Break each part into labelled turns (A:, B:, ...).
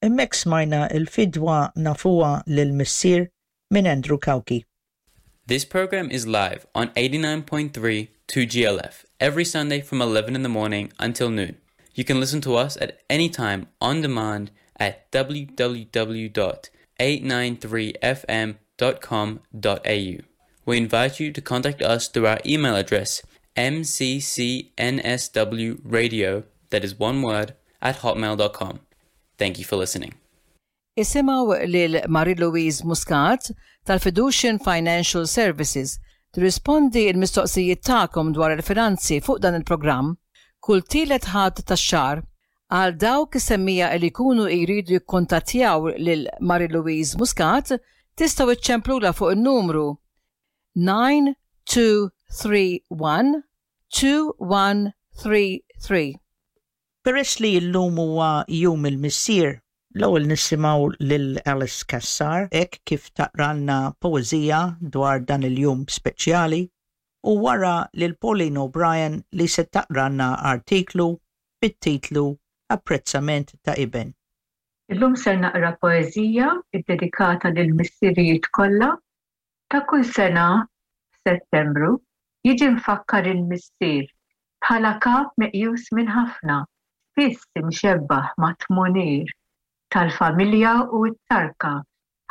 A: Hemmhekk smajna l-fidwa nafuha lill-Missier minn Andrew Cauchi.
B: This program is live on 89.3 2GLF every Sunday from 11 in the morning until noon. You can listen to us at any time on demand at www.893fm.com.au. We invite you to contact us through our email address mccsnwradio, that is one word, at hotmail.com. Thank you for listening.
C: Isimgħu lil Marie-Louise Muscat tal-Fiducian Financial Services tirrispondi l-mistoqsijiet tagħkom dwar il-finanzi fuq dan il-programm kull tielet Ħadd tax-xahar. Għal dawk is-semmiegħa li jkunu jridu jikkuntattjaw lil Marie-Louise Muscat tistgħu iċċemplulha fuq in-numru 9231 2133.
A: Peress li llum huwa Jum il-Missier, l-ewwel nisimgħu lil Alice Cassar hekk kif taqralna poeżija dwar dan il-jum speċjali u wara lil Pauline O'Brien li se taqralna artiklu bit-titlu Apprezzament ta' Iben.
D: Illum ser naqra poeżija ddedikata lill-missirijiet kollha. Ta' kull sena f'Settembru jiġi mfakkar il-missier bħala kap meqjus minn ħafna, spiss imxebbah mat-tmunier tal-familja u t-tarka,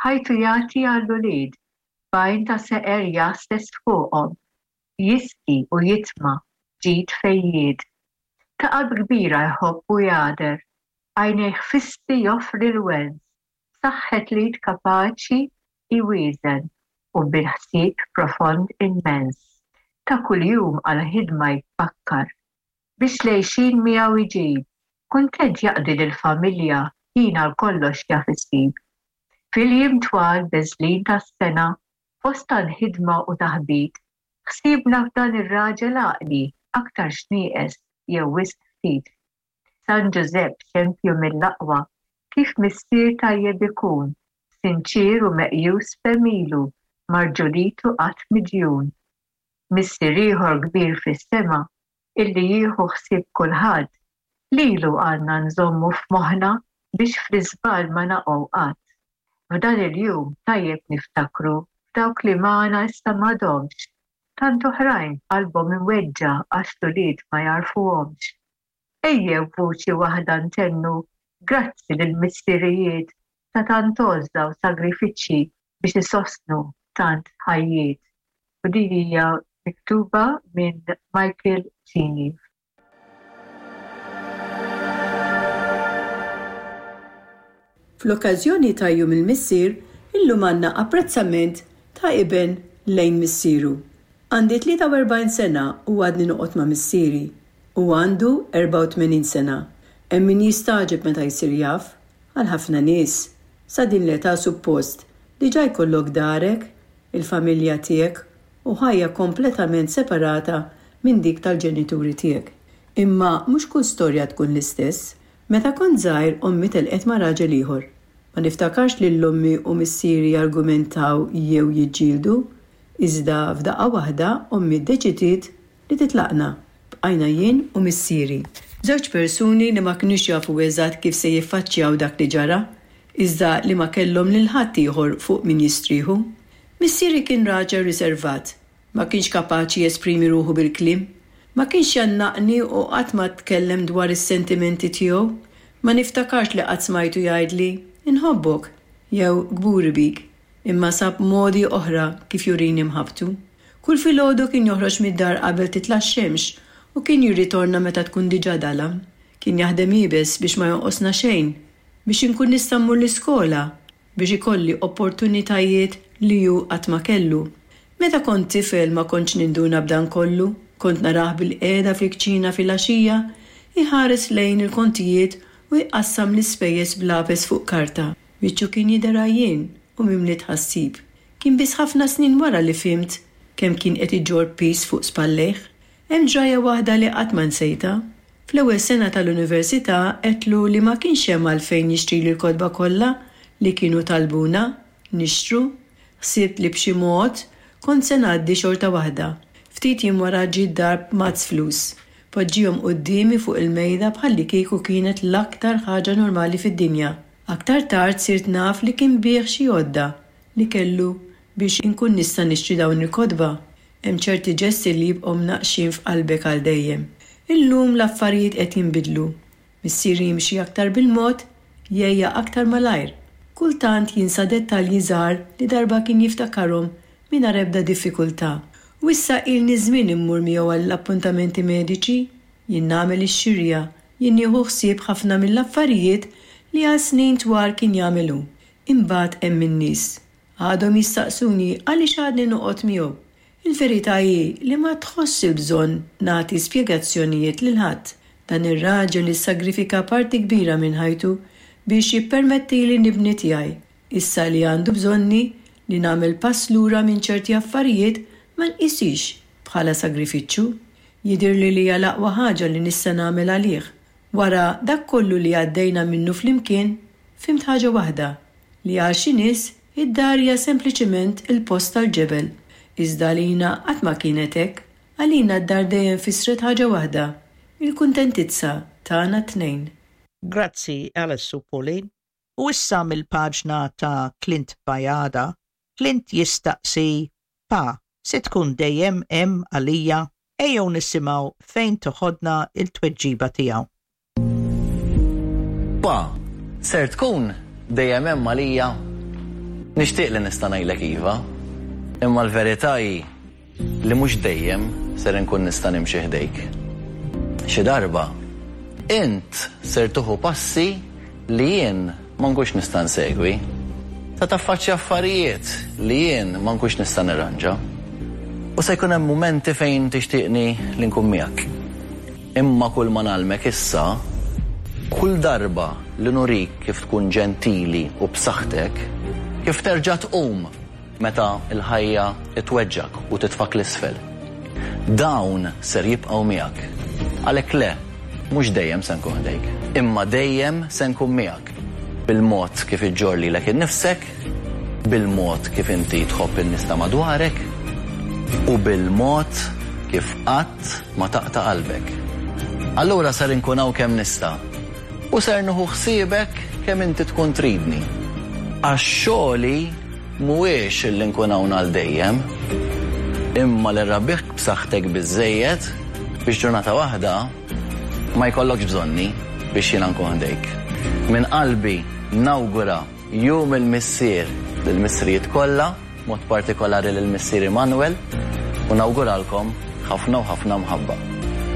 D: ħajtu jagħti għall-ulied, b'għajn ta' seqer jgħasses fuqhom, jisqi u jitma' ġid fejjied. Ta' qalb kbira jħobb u jagħder, għajnejh fissi joffri l-wens, b'saħħet l-id kapaċi jwieżen u bil-ħsieb profond immens. Ta' kuljum għall-ħidma jitfakkar. Biex l-għixien miegħu jġib. Kuntent jaqdi lill-familja ħin għal kollox jaf isib. Fil-jiem twal beżlin tas-sena, fost tant ħidma u taħbit, ħsiebna f'dan ir-raġel għaqli aktarx nieqes jew wisq ftit. San Ġużepp xempju mill-aqwa, kif missier tajjeb ikun, sinċier u meqjus f'għemilu, ma' rġulitu qatt midjun. Missier ieħor kbir fis-sema, illi jieħu ħsieb kulħadd, lilu għandna nżommu f'moħħna biex fl-iżball ma naqgħu qatt. F'dan il-jum tajjeb niftakru f'dawk li magħna issa m'għadhomx, tant oħrajn qalbhom imweġġa' għax l-ulied ma jagħrfuhomx. Ejjew b'vuċi waħda ntennu grazzi lill-missirijiet ta' tant għożża u sagrifiċċji biex isostnu tant ħajjiet. U din hija miktuba minn Michael Cini.
E: Fl-okkażjoni ta' Jum il-Missier, illum għandna apprezzament ta' iben lejn missieru. Għandi 43 sena u għadni noqgħod ma' missieri. Hu għandu 84 sena. Hemm min jistagħġeb meta jsir jaf. Għal ħafna nies, sa din l-età suppost diġà jkollok darek, il-familja tiegħek u ħajja kompletament separata minn dik tal-ġenituri tiegħek. Imma mhux kull storja tkun l-istess. Meta kont żgħir ommi telqet ma' raġel ieħor. Ma niftakarx lil ommi u missieri jargumentaw jew jiġġieldu. Iżda f'daqqa waħda ommi ddeċidiet li titlaqna. Bqajna jien u missieri. Żewġ persuni li ma kinux jafu eżatt kif se jiffaċċjaw dak li ġara, iżda li ma kellhom lil ħadd ieħor fuq min jistrieħu. Missieri kien raġel riservat. Ma kienx kapaċi jesprimi ruħu bil-kliem. Ma kienx jgħannaqni u qatt ma tkellem dwar is-sentimenti tiegħu. Ma niftakarx li qatt smajtu jgħidli, 'Inħobbok' jew 'Kburi bik', imma sab modi oħra kif jurini mħabbtu. Kull filgħodu kien joħroġ mid-dar qabel titla' x-xemx u kien jirritorna meta tkun diġà dalam. Kien jaħdem iebes biex ma jonqosna xejn, biex inkun nista' mmur l-iskola, biex ikolli opportunitajiet li hu qatt ma kellu. Meta kont tifel ma kontx ninduna b'dan kollu, kont narah bilqiegħda fil-kċina filgħaxija, iħares lejn il-kontijiet u jqassam l-ispejjeż b'lapes fuq karta. Wiċċu kien jidher għajjien u mimli tħassib. Kien biss ħafna snin wara li fhimt kemm kien qed iġorr piż fuq spallejh. Hemm ġrajja waħda li qatt ma nsejtha. Fl-ewwel sena tal-università għedtlu li ma kienx hemm għalfejn jixtrili l-kotba kollha li kienu talbuna nixtru. Ħsibt li b'xi mod kont se ngħaddi xorta waħda. Ftit jiem wara ġie d-dar b'mazz flus. Poġġiehom quddiemi fuq il-mejda bħallikieku kienet l-aktar ħaġa normali fid-dinja. Aktar tard sirt naf li kien biegħ xi għodda li kellu biex inkun nista' nixtri dawn il-kotba. Hemm ċerti ġesti li jibqgħu mnaqqxin f'qalbek għal dejjem. Illum l-affarijiet qed jinbidlu. Missieri jimxi aktar bil-mod, jgħejja aktar malajr. Kultant jinsa dettalji żgħar li darba kien jiftakarhom mingħajr ebda diffikultà. U issa ilni żmien immur miegħu għall-appuntamenti mediċi. Jien nagħmel ix-xirja, jien nieħu ħsieb ħafna mill-affarijiet li għal snin twal kien jagħmel hu. Imbagħad hemm in-nies. Għadhom jistaqsuni għaliex għadni noqgħod miegħu. Il-verità hi li ma tħossx il-bżonn nagħti spjegazzjonijiet lil ħadd. Dan ir-raġel issagrifika parti kbira minn ħajtu biex jippermettili nibni tiegħi. Issa li għandu bżonni, li nagħmel pass lura minn ċerti affarijiet ma nqishiex bħala sagrifiċċju. Jidhirli li hija l-aqwa ħaġa li nista' nagħmel għalih. Wara dak kollu li għaddejna minnu flimkien, fhimt ħaġa waħda, li għal xi nies id-dar hija sempliċement il-post tal-ġebel. Iżda għalina qatt ma kienet hekk. Għalina d-dar dejjem fissret ħaġa waħda, il-kuntentizza tagħna t-tnejn.
A: Grazzi Alice u Pauline. U issa mill-paġna ta' Clint Bajada, Clint jistaqsi, Pa, se tkun dejjem hemm għalija? Ejjew nisimgħu fejn toħodna l-tweġiba tiegħu.
F: Pa, ser tkun dejjem hemm għalija? Nixtieq li nista' ngħidlek iva, imma l-verità hi li mhux dejjem ser inkun nista' nimxi ħdejk. Xi darba, int ser tieħu passi li jien ma nkunx nista' nsegwi. Se taffaċċja affarijiet li jien ma nkunx nista' nirranġa. U se jkun hemm mumenti fejn tixtieqni li nkun miegħek. Imma kull ma ngħallmek issa, kull darba li nurik kif tkun ġentili u b'saħħtek, kif terġa' tqum Meta l-ħajja tweġġgħek u titfgħek 'l isfel. Dawn ser jibqgħu miegħek. Għalhekk le, mhux dejjem se nkun ħdejk. Imma dejjem se nkun miegħek. Bil-mod kif iġġorr lilek innifsek, bil-mod kif inti tħobb in-nies ta' madwarek u bil-mod kif qatt ma taqta' qalbek. Allura ser inkun hawn kemm nista' u ser nieħu ħsiebek kemm inti tkun tridni. Għax xogħli Mhuwiex li nkun hawn għal dejjem, imma li nrabbik b'saħħtek biżżejjed biex ġurnata waħda ma jkollokx bżonni biex jiena nkun ħdejk. Minn qalbi nawgura Jum il-Missier lill-missirijiet kollha, b'mod partikolari lil missieri Manuel, u nawguralkom ħafna u ħafna mħabba.